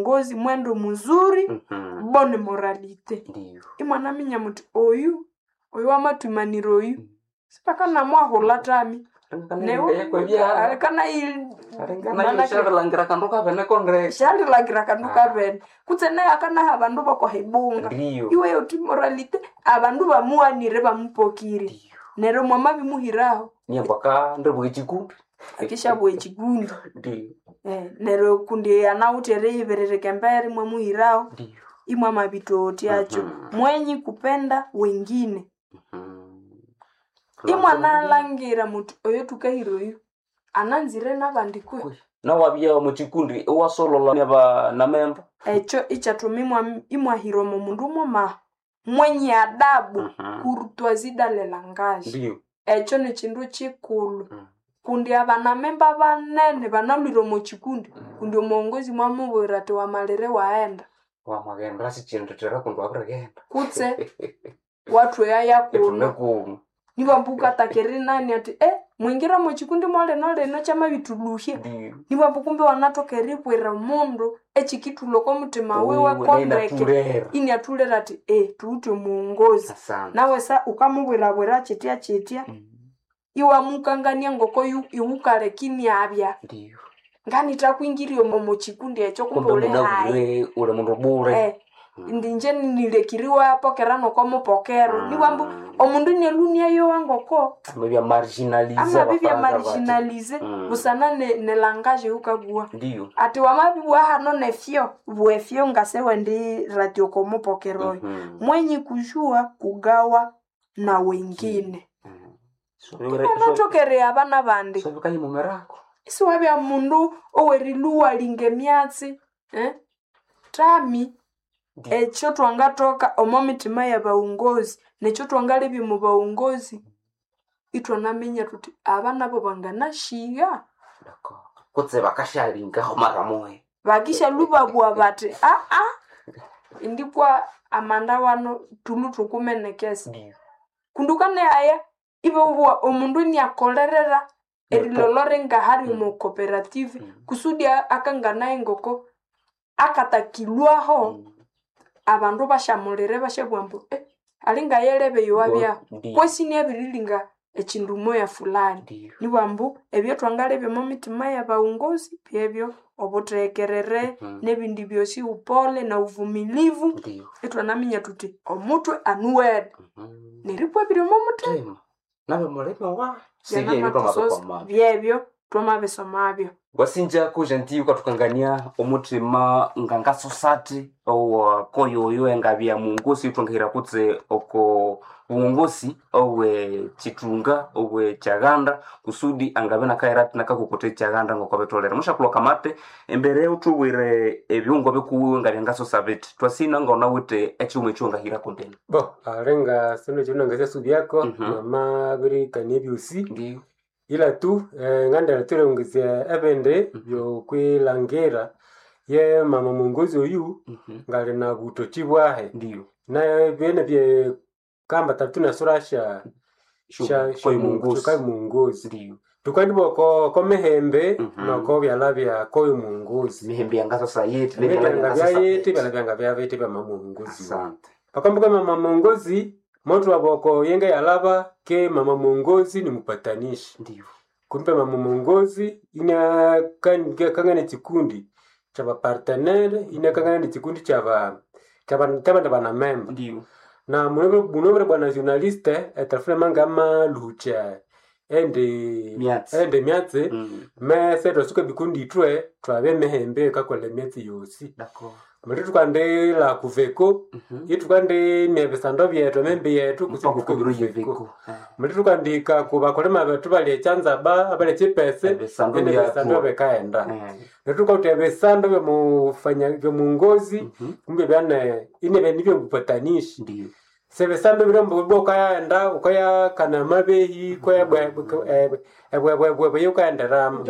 muongozi mwendo muzuri, bonne moralité. Ndiyo. Imwanaminya muti oyu oyu wamatwimanira oyu sipakanamwahula tami. Alingana kandu kavene kondre. Shalilakira kandu kavene kutse naye akanaha abandu bokohibunga. Ndiyo. Iwe uti moralite abandu bamuwanire bamupokire. Ndiyo. Neryo mwamabimuhiraho Niambaka ndibwa echikundi. akishabwa echikundi. Ndiyo. Neryo kundi anawithe eriyibiririka embere mwamuhiraho. Ndiyo. Imwamabitotyacho. Mwenyi kupenda wengine. Mhm. Imwanalangira muti oyo tukahira oyu ananzire nabandi kwe. Nawabya muchikundi iwasolola naba namemba. Ekyo ikyathuma imwahira omo mundu mumaha mwenye adabu, courtoisie dans le langage. Ndiyo. Ekyo nikindu kikulhu kundi abanamemba banene banalhwire omo kikundi kundi omuwongozi mwamubwira athi wamalire waghenda. Wamaghenda sichindithira kundi wabirighenda. Kutse wathweya yakuno. Ithune kuno. Nibwambu wukataka erinani athi mwingire omo kikundi mwalino lino kyamabithulhuhya. Ndiyo. Nibwambu kumbe wanathoka eribwira omundu ekikithulha oko muthima wiwe kondeke Inathulera. iniathulera athi thuwithe omuwongozi. Asante. Nawe sa wukamubwirabwira kyitya kyitya iwamukangania ngoko iwukaleka iniabya. Ndiyo. Nganithakwingirya omo kikundi ekyo kumbe Kumbe uli hayi. munabwire uli mundu bure. Indi inje nilekire iwayapokera nokomupokero. Nibwambu omundu inialhwa iniayowa ngoko Amabya marginalize amabibya abafaransa bati. marginalize busana ne langage eyukabuwa. Ndiyo. Athi wamabibugha hano nefyo, bwefyo ngase wendi ratio okomupokero oyo. Mwenye kujua kugawa na wengine. Iwanathoka erigha nabandi. Sobikayimumirako. Isiwabya mundu owerilhuwalinga emyatsi, tami ekyo thwangathoka omo mithima y'abawongozi nekyo thwangalebya omo bawongozi ithwanaminya thuthi aba nabo banganasyiga. Kutse bakasyalingaho mara moya. Bakishyalhwa ibabugha bathi indikwa amanda wano thulhwe thukumenekesa. Ndiyo. Kundi wukanayaya ibabugha omundu iniakolerera erilholho ngahali omo cooperative kusudi akanganaye ngoko akatakilhwaho abandu basyamulira ibasyabugha ambu alinga yelebe eyowabyahu Ndiyo. kwesi inabirilinga ekindu moya fulani. Ndiyo. Nibwambu ebyathwangalebya omo mitima y'abawongozi byebyo obuthekerere nebindi byosi upole na uvumilivu. Ndiyo. Ithwanaminya thuthi omuthwe anuwene neripwa ebiri omo muthima. Thima. Nabe mulime wa. Sibyebyo Byanamatusosa twamabikwamabyo. byebyo twamabisomabyo. Wasinja gentil ukathukangania omuthima ngangasosati owakoyoyo engabya muwongosi ithwangahira kutse oko buwongosi owe chithunga owe chaghanda kusudi angabe nakahira athi nakakokotha echaghanda ngokobitholere. Mushakulwa kamate embere uthubwire ebiungwa bikuwiwe ngabya ngasosa bithi twasina ngaghunawithe ekighuma ekyowangahirako ndenu. Bo alenga sino ekyo nangasyasubyako namabirikania ebyosi. Ndiyo. Ila tu ngandela thulengezya ebindi byokwilhangira ye mama mwongozi oyu ngali na buthoki bwahe. Ndiyo. Na byene bye kamba tatu nasura sha sha Koyo mwongozi. sha mwongozi. Ndiyo. Tukandibwa ko mihembe noko byala bya koyo mwongozi. Mihembe yangasosa yithi Ebyanga byayiti byala byanga byabiti bya mama mwongozi. Asante. Pakambuka mama mwongozi moto waboko yenge yalaba ke mama mwongozi ni mpatanishi. Ndiyo. Kumbe mama mwongozi ina kangana chikundi cha bapartenere ina kangana ni chikundi cha ba cha ba cha bana bana memba. Ndiyo. Na munobere bwana journaliste etelefone mangama lucha ende Myatsi. ende myatsi mese twasuka bikundi itwe twabe mihembe kakola emyatsi yosi. D'accord. Mulhi tukandila kuveko ithukandimya ebisando byethu emimbi yethu Mpaka kubiro yeveko. Mulhi tukandika kubakolema bethu bali ekyanzaba abali ekipese Ebisando ende ebisando byathu. bikaghenda. Neryo thukawithe ebisando byomufanya byomungozi kumbe byane inebe nibyo bupatanishi. Ndiyo. Sebisando biri mbu ukayaghenda ukayakana amabehi ebwebwebwe yukaghenderamo.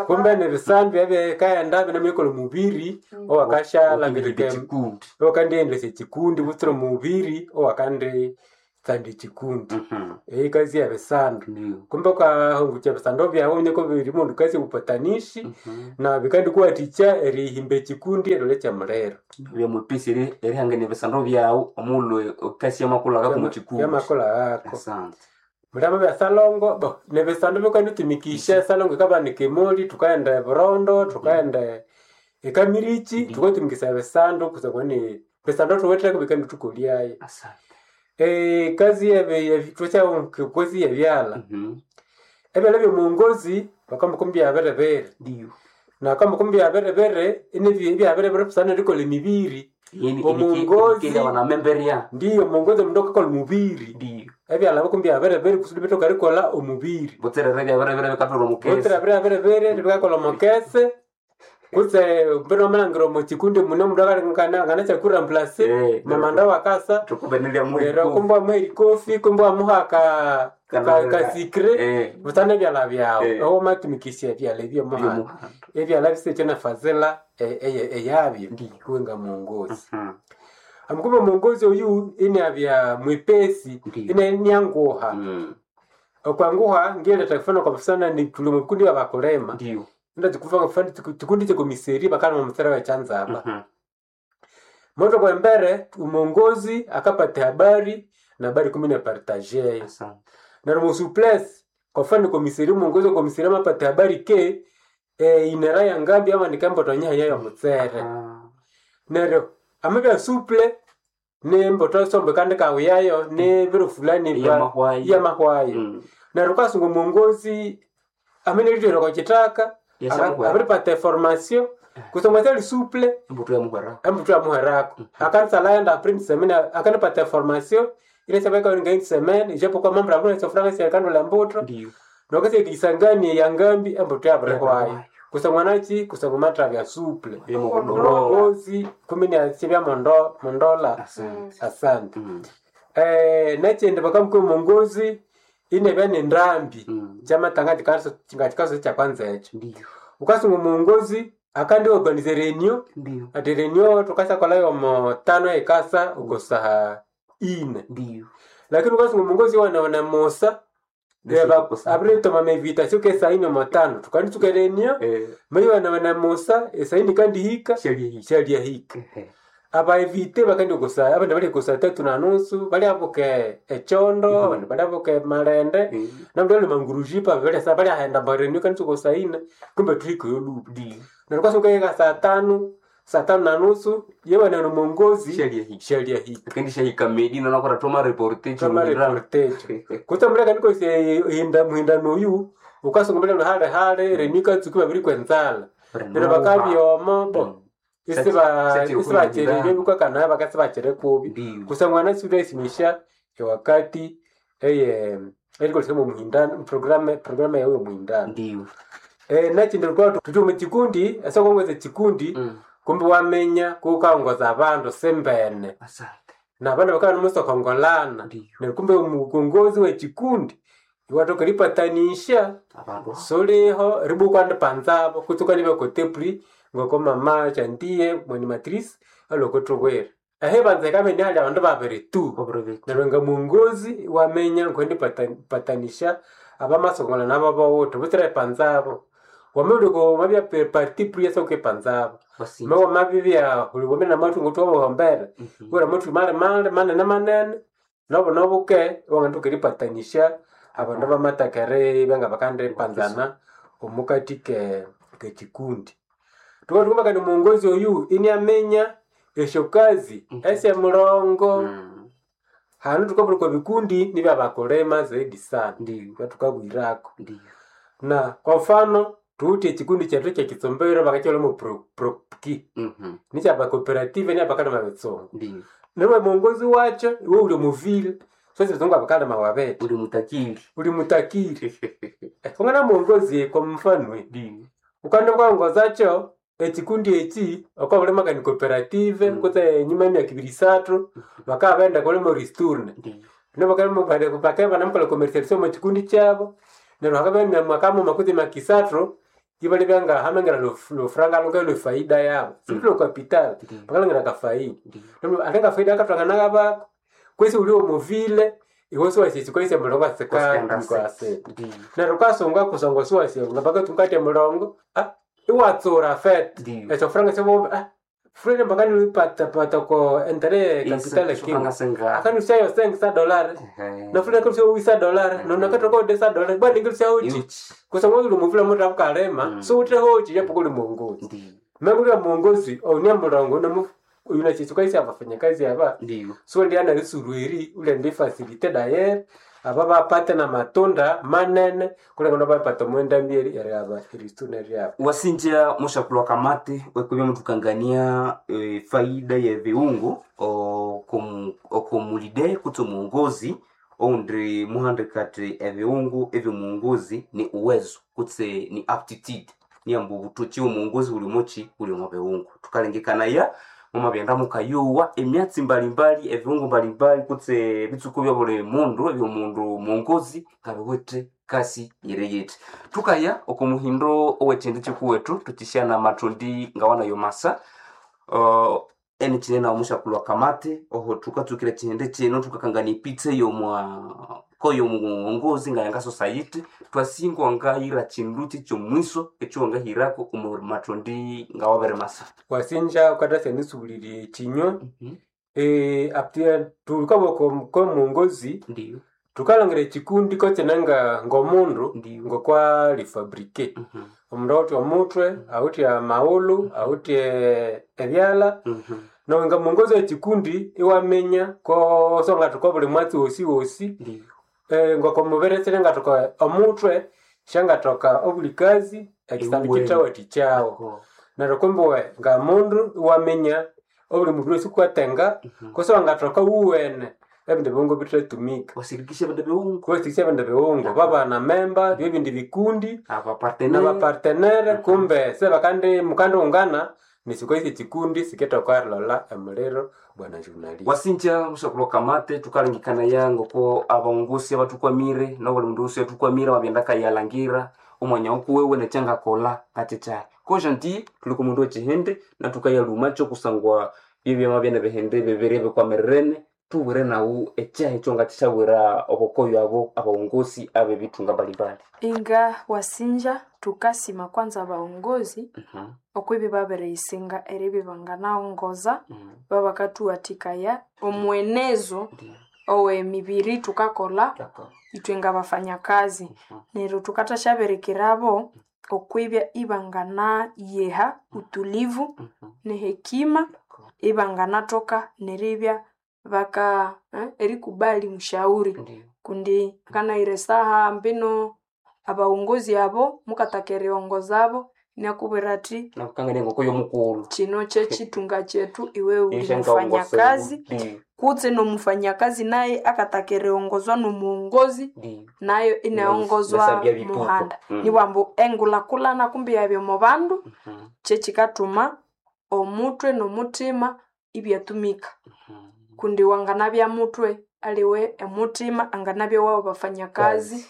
Kumbe nebisandu ebyekaghenda binemuyikolha omubiri owakashalangirika Ekikundi. owakandiendelesya ekikundi butsira omubiri owakandi. tsanda echikundi. Mhm. Eikazi ebisando. Ndiyo. Kumbe ukahungukya ebisando byawu waminya biri mundu kazi obupatanishi Mhm. na bikandikuwathikya erihimba ekikundi erilolya kyamuliro. Byamwepesi erihangania ebisando byawu omughulhu ekasi yamakulhakako omu kikundi. Yamakulhakako. Asante. Mulama bya salongo bo nebisando bikanditumikisha esalongo ikabanika emoli thukaghenda eburondo thukaghenda ekamirichi Ndiyo. thukatumikisaya ebisando kusangwa ni ebisando thuwitheko bikandithukolyayo. Asante. Ekazi thwasyakozi yebyalha. Mhm. Ebyalha byomuwongozi bakambuka byabiribiri Ndiyo. na kambuka byabiribiri inibya byabiribiri busana erikolha emibiri. Yeni Omuwongozi abanamemberya. ndiyo omuwongozi omundu akakolha omubiri. Ndiyo. Ebyalha bikumbi byabiribiri kusudi bithoke erikolha omubiri. Butserere byabiribiri bikatholha omukese. Butsira byabiribiri bikakolha omukese kutse mbino wamalhangira omo kikundi mune omundu anganasyakuramplase Eh, mamanda wakasa Thukubenelya neryo kumbe wamuha erikofi kumbe wamuha ka kasikire Eh. busana ebyalha byawu Eh. ewamatumikisya ebyalha ebyomuhanda. Byomuhanda. Ebyalha bisikye nefazila eyabyo Ndiyo. iwe ngamuwongozi. Mhm. Amukumbe omuwongozi oyu iniabya mwepesi Ndiyo. inianguha. Mm. Okwanguha ngiletha kufana kwa mfano ni tuli mu kikundi abakulema. Ndiyo. Ndachikufa kufana chikundi chekomiseri bakalima mutsere wechanzaba. Mhm. Moto kwa mbere umongozi akapata habari na habari kumi na partager. Asante. Na mu souplesse kwa mfano komiseri umongozi wa komiseri amapata habari ke inera ya ngambi ama nikambo tonya ya mutsere. Ah. Neryo amabya suple ni mboto sombe kandi kawiyayo ni biro fulani ba Yamahwayo. yamahwayo. Mm. Neryo ukasunga omuwongozi ameneritwere kwa kitaka Yasamuhwera. abiripata eformation kusoma syali suple Embuto yamuhwera. embuto yamuhwerako akanisa enda après une semaine akanipata eformation inesabeka une semaine ijapokuwa mambo abuna sofranga syakandula embuto Ndiyo. nokasya ya ngambi embuto yabirihwayo Yabirihwayo. kusangwa nachi kusangwa matravya suple Byomuhondoro. omuwongozi kumi niasibya mondo mondola. Asante. Asante. Mm. Nekindi bakamukwa omuwongozi inebya nendambi Mm. kyamatanga ngakikaso kyakwanza ekyo. Ndiyo. Ukasunga omuwongozi akandi organize reunion Ndiyo. ati reunion tukasyakolhayo omo tano ekasa oko saha ine. Ndiyo. Lakini ukasunga omuwongozi iwanabana musa abiritoma invitation ke saa ine omo tano tukanditsuka reunion Eh. maye iwanabana musa esaa ine ikandihika Shalia. syalyahika. Ehe. Abaevite bakandi kusa abandi bali kusa tatu na nusu baliabuka echondo abandi baliabuka malende Eh. namndu ali mangurujipa bali baliahenda mbareni kanitsuka saa ine kumbe tuhika yoluba. Ndiyo. Neryo kwasuka saa tano na nusu yewana nomongozi Shalia. shalyahika. Kendi shahika Medina nakora toma reportage. Toma reportage. Kutsa muleka niko hinda muhindano oyu ukasunga mbele hale hale renika tsuki babiri kwenzala. Neryo bakabyoma bo isibacherere bikakana bakasibachere kubi. Ndiyo. Kusangwa na isimisha ewakati eye erikolesya muhindano programu yawe muhindano. Ndiyo. Nekindi lukwa tuthi omu kikundi esokongweza ekikundi Mm. kumbe waminya kukaongoza abandu simbene Asante. nabandu bakabya nimusokongolana. Ndiyo. Neryo kumbe omukongozi wekikundi iwathoka eripatanisya Abandu. suliho eribukwa ndipanzabo kutse ukanibya kotepri ngoko mama Chantie mwanimatrice aliokuthubwira. Ehibanza hikabya inihali abandu babiri tu. Obrobet. Neryo nga muwongozi iwaminya ngokundipatanisya abamasokongolana nabo bawithe butsira ipanzabo. Wamabya wamabya parti pris esyokipanzabo. Basi. Wamabibya wamabya namathu ngothuwahombera Mhm. wura amathu mali mali manene manene nobu nobuke iwanganathoka eripatanisya abandu abamathaka eribya ngabakandipanzana omukati ke kekikundi. Thukathukamba kandi omuwongozi oyu iniaminya esyokazi esyemulongo. Mm. Hanu thukabulha okwa bikundi nibyabakulima zaidi sana Ndiyo. byathukabwirako. Ndiyo. Na kwa mfano thuwithe ekikundi kyethu kyekitsombero bakakyilhamo propki Mhm. nikyaba cooperative niabakalima bitsungu. Ndiyo. Neryo omuwongozi wakyo iwe wuli omuvile sosi bitsungu abakalima wabete. Uli mutakiri. Uli mutakiri. Kungana muwongozi kwa mfano Ndiyo. ukandi kwangozakyo ekikundi eki okwabulima kani cooperative kutse enyuma emyaka ibiri isathu bakabya baghenda kulima ristourne. Ndiyo. Bakabya banamukolha commercialisation omu kikundi kyabo neryo hakabya mwaka mughuma kutse emyaka isathu ibalibya nga hamangira lufranga luke lwefaida yabo sibuli lwe capital Ndiyo. bakalhangira akafaida. Ndiyo. Neryo ate akafaida akathwanganaka bako kwesi wuli omuvile Iwe siwasi mulongo asika mkwasita. Neryo ukasunga kusangwa siwasi ngapaka mulongo iwatsura fet. Ndiyo. Esyo franga syo frere mpaka nilipata pata ko entere capital king. Akanusayo sengi sa dollar. Na frere kanusayo wisa dollar. No nakatoko de sa dollar. Bali ngilisa uchi. Kusangwa uli muvula mutu abukalema. So ute hochi japo kuli muongozi. Menguli muongozi onia mulongo na unachisukaisi abafanyakazi aba. Ndiyo. So ndiana lisurwiri ule ndi facilite dayer aba bapate na matunda manene kule ngono bapata mwenda mbieri yari aba irisune ryabo. Wasinja mushakulwa kamate wekubya mutukangania faida ya viungo okomulide kutse muongozi oundi muhandikati eviungo ebyomuongozi ni uwezo kutse ni aptitude niyamba obutoki omuongozi buli muki buli omu biungo tukalengekanaya mumabyenda mukayowa emyatsi mbalimbali ebiungo mbalimbali kutse ebitsuku bya buli mundu ebyomundu muongozi ngabiwithe kasi yiri yithi tukaya oko muhindo owekindi kikuwethu tukishana mathundi ngawanayo masa eni kinene omushakulwa kamate oho tukatsukira kihindi kino tukakangana epitsa eyomwa koyo muongozi ngayanga society twasingwa ngayira kindu kyomwiso ekyiwangahirako omu mathundi ngawabere masa. Wasinja ukatasa nisubulirie ekinyo aptia tulukaboko ko muongozi Ndiyo. tukalongira ekikundi kokinanga ngomundu Ndiyo. ngokwa lifabrike. Omundu awithe omutwe, awithe amaghulhu, awithe ebyalha. Nawe nga muongozi wekikundi iwaminya ko songathoka buli mwatsi wosi wosi. Ndiyo. Ngokomuberesere ngathoka omutwe syangathoka obuli kazi ekisandi Iwuwene. kithawathikyagho. Neryo kumbe we nga mundu iwaminya obuli mubiri wosi kukatenga kutse wangathoka wuwene ebindi bighungo bithatumika. Wasirikisha ebindu bighungo Kuwasikisya ebindi bighungo babana memba byebindi bikundi abapartenere nabapartenere kumbe sebakandi mukandighungana nisikoisi ekikundi sikithoka erilhola emuliro bwana journalist. Wasinja mushakulwa kamate tukalengekana ngoko abaongozi abatukwamire nobuli mundu wosi atukwamire wabyenda kayalangira omwanya okuwewe nekyangakolha ngakyekyayi ko gentil tuli ku mundu wekihindi natukayalhumakyo kusangwa byebyama byene bihindi bibiri ebikwamirirene tubwire nawu ekyahi ekyongakisyabwira obukoyo abo abaongozi abebithunga mbalimbali. Inga wasinja tukasima kwanza abaongozi okwibi babiriyisinga eribya banganaongoza babakathuwathikaya omwenezo owemibiri thukakolha ithwe ngabafanyakazi. Neryo thukathasyaberekirabo okwibya ibanganayiha utulivu nehekima ibanganathoka neribya baka erikubali mushauri kundi nganayira esaha mbino abaongozi abo mukataka eriongozabo inakubwira athi Nakukangania engoko yomukulhu kino kyekithunga kyethu iwe uli mufanyakazi kutse nomufanyakazi naye akataka eriongozwa nomuongozi nayo inaongozwa Nesabya bikuku. muhanda. Nibwambu engulhakulhana kumbi yabya omu bandu kyekikathuma omutwe nomuthima ibyatumika kundi wanganabya mutwe aliwe emuthima anganabya wabo bafanyakazi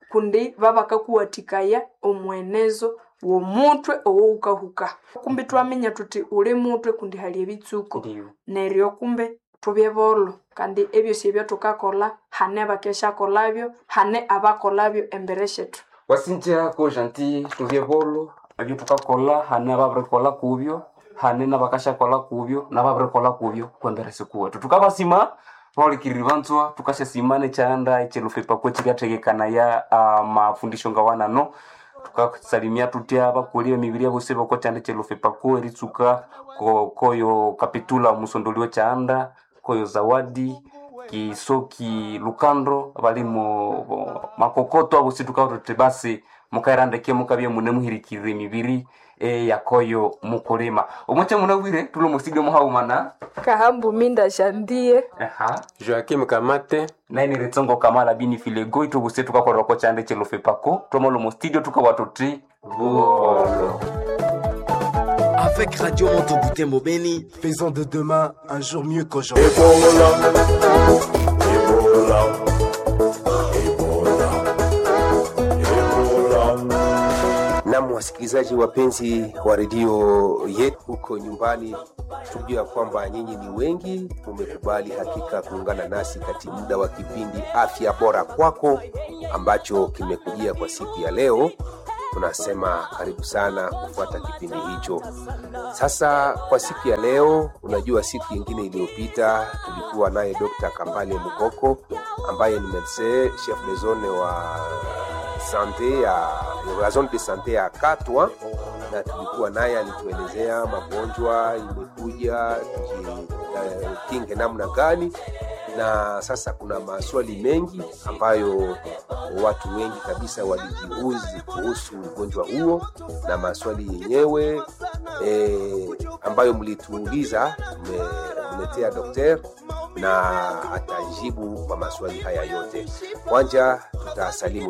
kundi babakakuwathikaya omwenezo womutwe owowukahuka. Kumbi twaminya thuthi uli mutwe kundi hali ebitsuko neryo kumbe thubye bolho kandi ebyosi ebyathukakolha hane abakesyakolhabyo hane abakolhabyo embere syethu. Wasinja ko gentil tubye bolho ebyathukakolha hane ababirikolha kubyo hane nabakasyakolha kubyo nababirikolha kubyo kwembere sikuwethu thukabasima bahulikiriri banzwa thukasyasima nekyanda ekyelufipako ekyiryathekekanaya amafundisho ngawanano tukasalimia tutya abakuli emibiri abosi bokokyanda ekyelufipako eritsuka koyo kapitula omusondoli wekyanda koyo zawadi kisoki lukando balimo makokoto abosi tukabwira tuthi basi mukairandeke mukabya mune muhirikirire emibiri eyakoyo mukulima omwakya munabwire tuli omusiga muhaumana Kahambu minda shandie aha Joakim Kamate nainire tsongo kamala bini filego itubuse tukakorera ko kyanda ekyelufipako twamala omu studio tukabwa tuthi buholo. Avec Radio Moto Beni, Faisons de demain un jour mieux qu'aujourd'hui. Na Wasikilizaji wapenzi wa redio yetu huko nyumbani, tujua kwamba nyinyi ni wengi, mumekubali hakika kuungana nasi katika muda wa kipindi Afya Bora Kwako ambacho kimekujia kwa siku ya leo. Tunasema karibu sana kufuata kipindi hicho. Sasa kwa siku ya leo, unajua siku nyingine iliyopita tulikuwa naye Dr. Kambale Mukoko ambaye ni medecin chef de zone wa sante ya la zone de sante ya Katwa, na tulikuwa naye alituelezea magonjwa imekuja tujikinge namna gani, na sasa kuna maswali mengi ambayo watu wengi kabisa walijiuzi kuhusu ugonjwa huo, na maswali yenyewe ambayo mlituuliza tumemletea dokter na atajibu kwa maswali haya yote. Kwanza tutasalimu